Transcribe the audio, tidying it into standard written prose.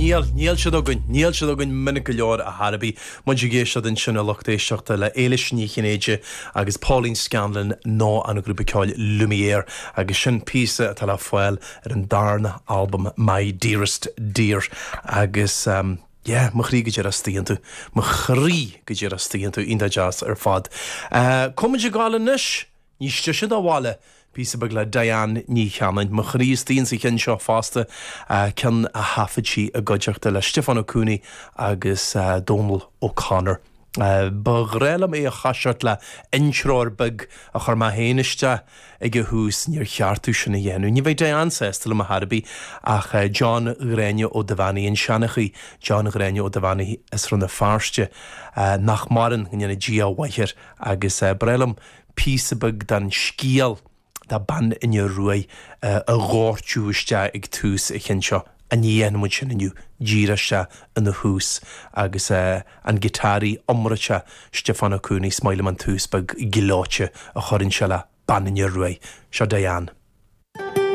Níl, níl siad againn, níl siad againn minic go leor ar chor ar bith. Muid ag éisteacht ansin a lucht éisteachta le Éilis Ní Chinnéide agus Pauline Scanlon nó an grúpa ceoil Lumière agus sin píosa atá le fáil ar an darna albam My Dearest Dear agus yeah, mo chroí go díreach istigh iontu, mo chroí go díreach istigh iontu, iontach deas ar fad. Cá bhfuil muid ag gabháil anois? Níos deise dá bhaile, píosa beag le Diane Ní Chanainn. Mo chroí istigh insa cheann seo fosta, ceann a thaifead sí i gcuideachta le Stiofán Ó Cuanaigh agus Dónal O'Connor. Ba ghnách liom é a thoiseacht le intreoir beag a chuir mé féin isteach ag an thús, níor cheart domh sin a dhéanamh. Ní bheidh Diane sásta liom ar chor ar bith ach John Ghráinne Ó Duibheannaigh, an seanchaí John Ghráinne Ó Duibheannaigh as Rann na Feirste, nach maireann, go ndéana Dia a mhaith air agus ba bhreá liom píosa beag den scéal de Bean Fhine Ruaidh a dhoirteadh isteach ag tús an chinn seo. Ach ní dhéanfaidh muid sin inniu, díreach isteach ina thús agus an giotáraí iomráiteach Stiofán Ó Cuanaigh, is maith liom an tús beag gleoite a chuireann sé le Bean Fhine Ruaidh. Seo Diane.